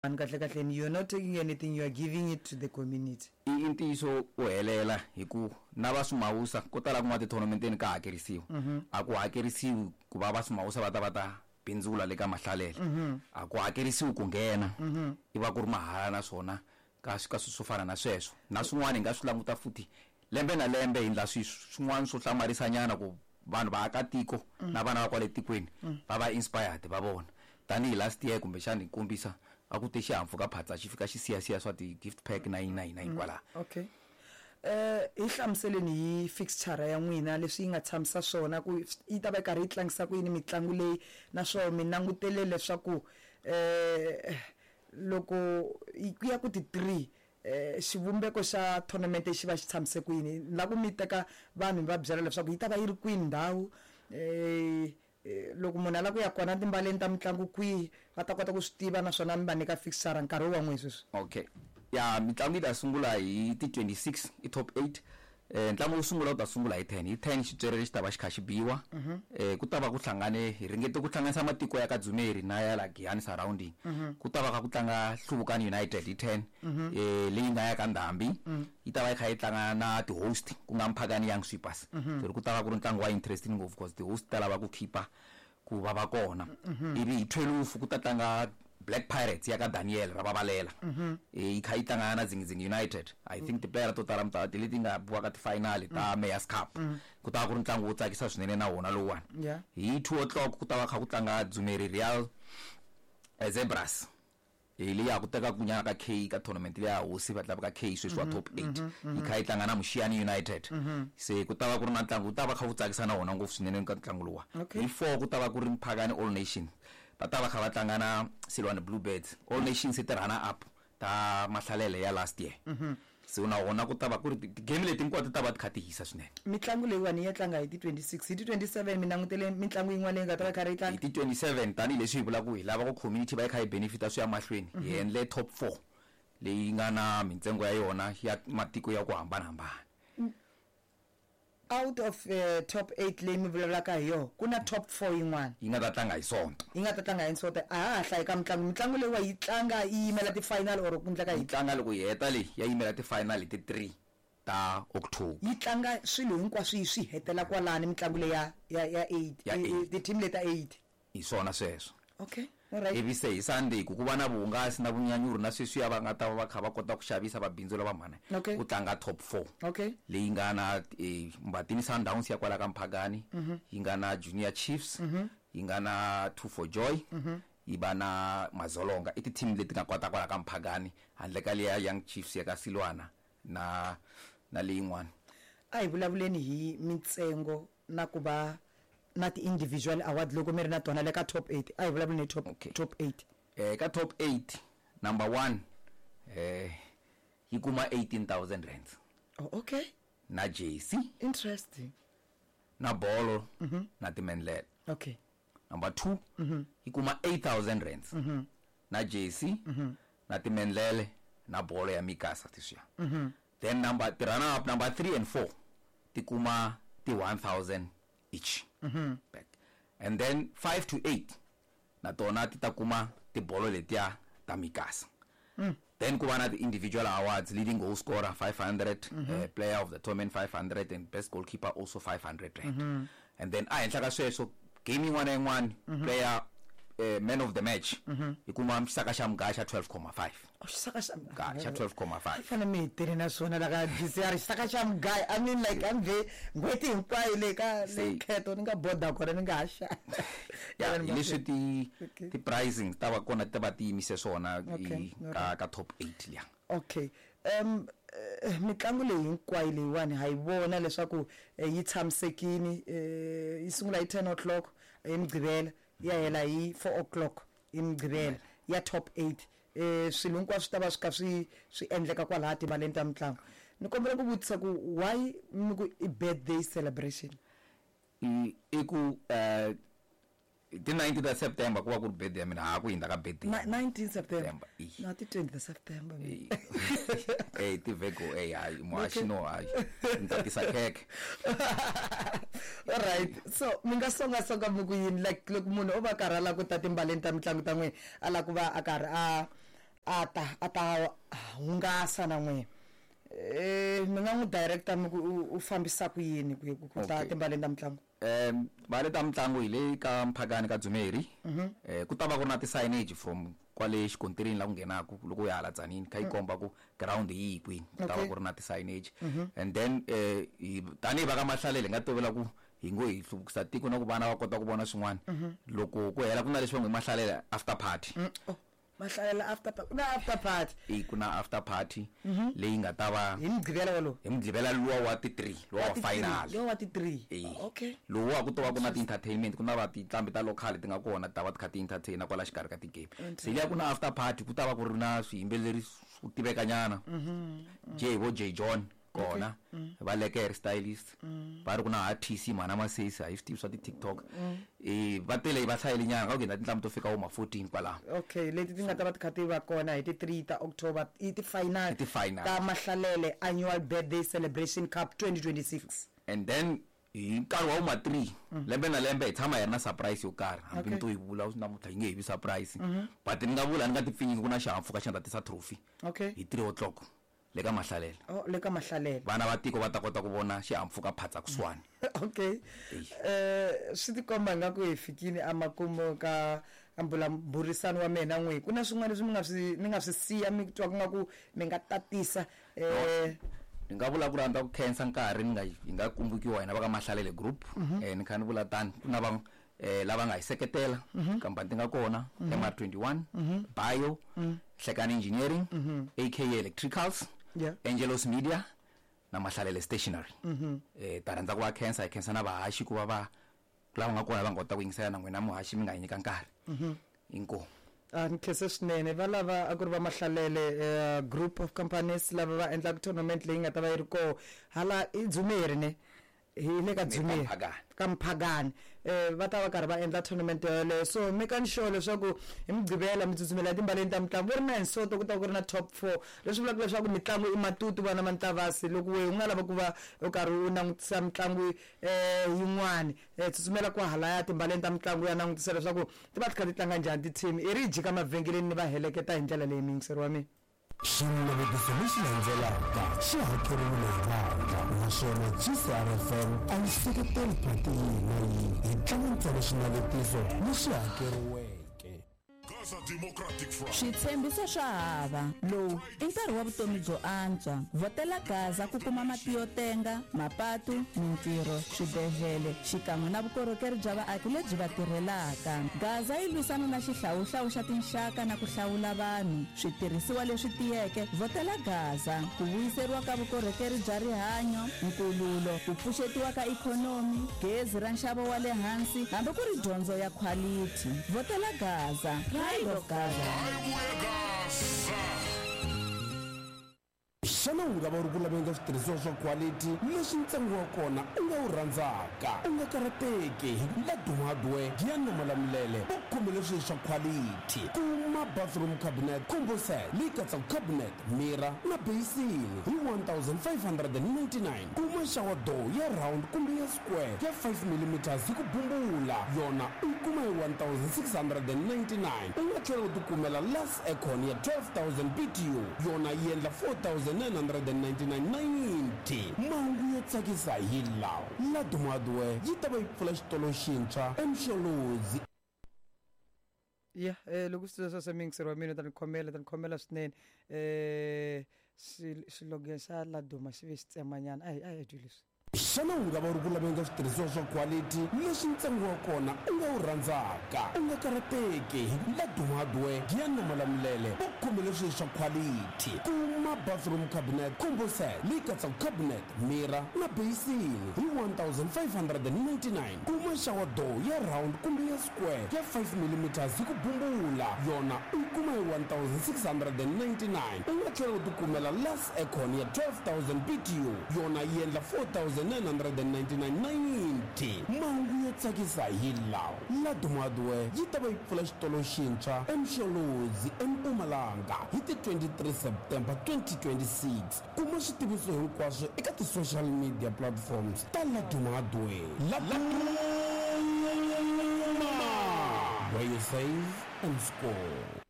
Vanhu kahle kahleni you're not taking anything, you are giving it to the community. I i ntiyiso wo helela hi ku na va Swimawusa ko tala kun'wana tithonamenteni ka hakerisiwa. A ku hakerisiwi ku va va Swimawusa va ta va ta bindzula le ka Mahlalele. A ku hakerisiwi ku nghena, i va ku ri mahala naswona ka ka swilo swo fana na sweswo. Na swin'wana hi nga swi languta futhi lembe na lembe hi endla swilo swin'wana swo hlamarisanyana ku vanhu vaakatiko na vana va kwale tikweni va va inspired va vona. Tanihi last year kumbexani hi kombisa a ku te xihahampfhuka phatsa xi fika xi siyasiya swa ti gift pack na yini na yini na yini kwalaha. Okay. Hi hlamuseleni hi fixture ya n'wina leswi yi nga tshamisa swona ku yi ta va yi karhi yi tlangisa ku yini mitlangu leyi naswona mi langutele leswaku loko ku ya ku ti 3 xivumbeko xa tournament xi va xi tshamise ku yini. Ni lava ku mi teka vanhu mi va byela leswaku yi ta va yi ri kwini ndhawu Loko munhu a lava ku ya kona timbaleni ta mitlangu kwihi va ta kota ku swi tiva naswona mi va nyika fixture nkarhi wa n'we sweswi. Okay ya mitlangu yi ta sungula hi ti 26 i top 8 ntlangu wo sungula wu ta sungula hi 10 hi 10 xitswere xi ta va xi kha xi biwa ku ta va ku hlangane hi ringete ku hlanganisa matiko ya ka Dzumeri na ya la Giyani surrounding ku ta va kha ku tlanga Hluvukani United hi 10 leyi nga ya ka Ndhambi yi ta va yi kha yi tlanga na ti-host ku nga Mphakani Young Sweepers so ku ta va ku ri ntlangu wa interesting ngopfu because ti-host ta lava ku khipa ku va va kona ivi hi 12 ku ta tlanga Black Pirates ya ka Daniel ra vavalela yi kha yi tlanga na Dzingidzingi United. I think ti-player to tala mi ta ti leti nga biwa ka ti-final ta Mayor's Cup. Ku ta va ku ri ntlangu wo tsakisa swinene na wona lowuwani. Hi 2 o'clock ku ta va kha ku tlanga Dzumeri Real Zebras. Hi leyi ya ha ku tekaka nyana ka K ka tournament leya hosi va tlanga ka K sweswi wa top 8 yi kha yi tlanga na Mushiyani United. Se ku ta va ku ri na ntlangu wu ta va kha wu tsakisa na wona ngopfu swinene ka ntlangu luwa. Hi 4 ku ta va ku ri Mphakani All Nation va ta va kha va tlanga na Silwane Blue Birds. All Nations i ti-runner up ta Mahlalele ya last year. So na wona ku ta va ku ri ti-game leti hinkwato ti ta va ti kha ti hisa swinene. Mitlangu leyiwani yi ya tlanga hi ti 26, hi ti 27 mi langutele mitlangu yin'wana leyi nga ta va yi karhi yi tlanga? Hi ti 27 tanihileswi hi vulaka ku hi lava ku community va yi kha yi benefit-a swi ya mahlweni, hi endle top 4 leyi nga na mintsengo ya yona ya matiko ya ku hambanahambana. Out of top 8 leyi mi vulavulaka hi yona, ku na top 4 yin'wana. Yi nga ta tlanga hi Sonto. Yi nga ta tlanga hi Sonto. A ha ha hlayi ka mitlangu. Mitlangu leyiwa yi tlanga yi yimela ti-final or ku endleka Yi yini? tlanga loko yi heta leyi ya yimela ti-final hi ti 3 ta October. Yi tlanga swilo hinkwaswo yi swi hetela kwalani mitlangu leyi ya ya ya 8, Ya 8. ti-team leti ta 8. Hi swona sweswo. Okay. Alright. Ivi se hi Sunday ku ku va na vuhungasi na vunyanyuri na sweswiya va nga ta va va kha va kota ku xavisa va bindzula va mhani Okay. ku tlanga top 4 Okay. leyi nga na Mbatini Sundowns ya kwala ka Mphakani yi nga na Junior Chiefs yi nga na Two for Joy yi va na Mazolonga. I ti-team leti nga kwata kwala ka Mphakani handle ka liya Young Chiefs ya ka Silwana na na leyin'wana. A hi vulavuleni hi mintsengo na ku va na ti-individual award loko mi ri na tona le ka top 8. A hi vulavuleni hi top, Okay. top 8. Ka top 8 number 1 yi kuma 18000 rands. Oh, okay. Na jersey. Interesting. Na bolo na timendlele. Okay. Number 2 yi kuma 8000 rands. Na jersey na timendlele na bolo ya Mikasa leswiya. Then number ti runner up number 3 and 4 ti kuma ti 1000 each. Back. And then 5 to 8 na tona ti ta kuma tibolo letiya ta Mikasa. Then ku va na ti-individual awards, leading goal scorer 500, player of the tournament 500 and best goalkeeper also 500 rand. And then a henhla ka sweswo game yin'wana na yin'wana player man of the match yi kuma xisaka xa mugaya xa 12.5. Oh, xisaka xa Mugaya xa 12.5. Fanele mi hi tele na swona la ka GCR xisaka xa mugaya. I mean like I'm ve n'hweti hinkwayo le ka le kheto ni nga boda kona ni nga ha xavi. Ya, hi leswi Okay. ti pricing ta va kona ti va ti yimise swona Okay, i ka top 8 liya. Okay. Mitlangu leyi hinkwayo leyiwani ha yi vona leswaku yi tshamisekini, yi sungula hi 10 o'clock hi Mugqivela ya hela hi 4 o'clock hi Mugqivela ya top 8. Swilo hinkwaswo swi ta va swi kha swi swi endleka kwalaha tibaleni ta mitlangu. Ni kombela ku vutisa ku why mi ku i birthday celebration? I ku ti 19 ta September ku va ku ri birthday ya mina, ha ku hindza ka birthday. 19 September. September, i. No, ti 20 ta September. Ti Virgo, hayi, muhaxi no, hayi. Ni ta tisa khekhe. All right. So mi nga songa songa mi ku yini like loko munhu o va karhi a lava ku ta timbaleni ta mitlangu ta n'wina, a lava ku va a karhi a a ta a ta hungasa na n'wina mi nga n'wi director mi ku u fambisa ku yini ku ku ta timbaleni ta mitlangu? Mbale ta mitlangu hi le ka Mphakani ka Dzumeri. Ku ta va ku ri na ti-signage from kwale xikontirini la ku nghenaku loko u ya hala Tzaneen, kha yi komba ku ground hi yihi kwini. Ku ta va ku ri na ti-signage. And then tanihi va ka Mahlalele hi nga tovela ku hi ngo hi hluvukisa tiko na ku vana va kota ku vona swin'wana. Loko ku hela ku na leswi va ngo i Mahlalele after party. Oh, Mahlalela after party. Ku na after party. E ku na after party leyi nga ta va hi Mugqivela wolowo. Hi Mugqivela luwa wa ti 3, luwa wa final. Luwa wa ti 3. E. Okay. Luwa ku to va ku na ti-entertainment, ku na va tinqambi ta local ti nga kona ti ta va ti kha ti entertain kwala xikarhi ka ti-game. Se liya ku na after party, ku ta va ku ri na swiyimbeleri swo tivekanyana. J vo J John kona, va Lekker stylist, va ri ku na ha TC mhana Masesi, a yi swi tivi swa ti-TikTok. Va tele, va hlayile nyana ka ku endla tinqambi to fika vo ma 14 kwalaho. Okay, leti ti nga ta va ti kha ti va kona hi ti 3 ta October i ti-final I ti-final ta Mahlalele Annual Birthday Celebration Cup 2026. And then hi nkarhi wa vo ma 3 lembe na lembe hi tshama hi ri na surprise yo karhi, hambi ni to yi vula namuntlha yi nge he vi surprise, but ni nga vula ni nga ti pfinyingi ku na xihahampfhuka xi nga ta tisa trophy hi 3 o'clock le ka Mahlalele. Oh, le ka Mahlalele. Vana va tiko va ta kota ku vona xihahampfhuka phatsa kusuhani. Okay. Swi tikomba nga ku hi fikile emakumu ka mbulavurisano wa mina n'wi. Ku na swin'wana leswi mi nga swi ni nga swi siya mi twa ku nga ku mi nga tatisa Ni nga vula ku rhandza ku khensa nkarhi ni nga hi nga kumbukiwa hina va ka Mahlalele Group. Ni kha ni vula tani ku na va lava nga hi seketela, khampani ti nga kona, MR21, Bio, Hlekani Engineering, AKA Electricals, Angelos Media na Mahlalele Stationery. Ta rhandza ku va khensa, hi khensa na vahaxi ku va va lava nga kona va nga kota ku yingisela na n'wina muhaxi mi nga hi nyika nkarhi. Inkomu. A ni khense swinene. Va lava a ku ri va Mahlalele Group of Companies lava va endlaka tournament leyi nga ta va yi ri koho hala i Dzumeri ne hi le ka Dzumeri ka Mphakani. Va ta va karhi va endla tournament yoleyo, so mekani sure leswaku hi Mugqivela mi tsutsumela etimbaleni ta mitlangu. Va ri na hi Sonto ku ta ku ri na top 4, leswi vulaka leswaku mitlangu i matutu vana va Ntavasi. Loko wehe u nga lava ku va u karhi u langutisa mitlangu yin'wani, tsutsumela kwahalaya timbaleni ta mitlangu ya langutisa leswaku ti va ti kha ti tlanga njhani ti-team. I ri jika mavhengeleni ni va heleketa hi ndlela leyi muyingiseri wa mina. Xinavetiso lexi landzelaka xi hakeriwile hi vandla, naswona GCRFM a yi seketeli phati yihi na yihi. Hi tlanga ntsena xinavetiso lexi hakeriweke. Switshembiso swa hava. Lowu i nkarhi wa vutomi byo antswa. Vhotela Gaza ku kuma mati yo tenga, mapatu, mintirho, swibedlhele xikan'we na vukorhokeri bya vaaki lebyi va tirhelaka. Gaza yi lwisana na xihlawuhlawu xa tinxaka na ku hlawula vanhu. Switirhisiwa leswi tiyeke, vhotela Gaza ku vuyiseriwa ka vukorhokeri bya rihanyo, nkululo, ku pfuxetiwa ka ikhonomi, gezi ra nxavo wa le hansi hambi ku ri dyondzo ya khwalithi. Vhotela Gaza. Pride of Gaza. Xana u nga va u ri ku laveni ka switirhisiwa swa khwalithi leswi ntsengo wa kona u nga wu rhandzaka? U nga karhateki, hi ku Laduma Hardware, Giyani na Malamulele va ku khomele swilo swa khwalithi. Kuma bathroom cabinet combo set leyi katsaka cabinet, mirror na basin hi 1599. Kuma shower door ya round kumbe ya square ya 5 millimeters hi ku bumbula, yona u yi kuma hi 1699. U nga tlhela u tikumela Lux Aircon ya 12000 BTU, yona yi endla 4999.90. Mahungu yo tsakisa hi lawa, Laduma Hardware yi ta va yi pfula xitolo xintshwa eMsholozi. Ya loko swi tiva sweswo muyingiseri wa mina u ta ni khomela, ta ni khomela swinene. Xilogene xa Laduma xi ve xi tsemanyana. A hi a hi twi leswi. Xana u nga va u ri ku laveni ka switirhisiwa swa khwalithi leswi ntsengo wa kona u nga wu rhandzaka? U nga karhateki, hi ku Laduma Hardware, Giyani na Malamulele va ku khomele swilo swa khwalithi. Kuma bathroom cabinet combo set leyi katsaka cabinet, mirror na basin hi 1599. Kuma shower door ya round kumbe ya square ya 5 millimeters hi ku bumbula, yona u yi kuma hi 1699. U nga tlhela u tikumela Lux Aircon ya 12000 BTU, yona yi endla 4999.90. Mahungu yo tsakisa hi lawa, Laduma Hardware yi ta va yi pfula xitolo xintshwa eMsholozi eMpumalanga hi ti 23 September 2026. Kuma switiviso hinkwaswo eka ti-social media platforms ta Laduma Hardware. Laduma, where you save and score.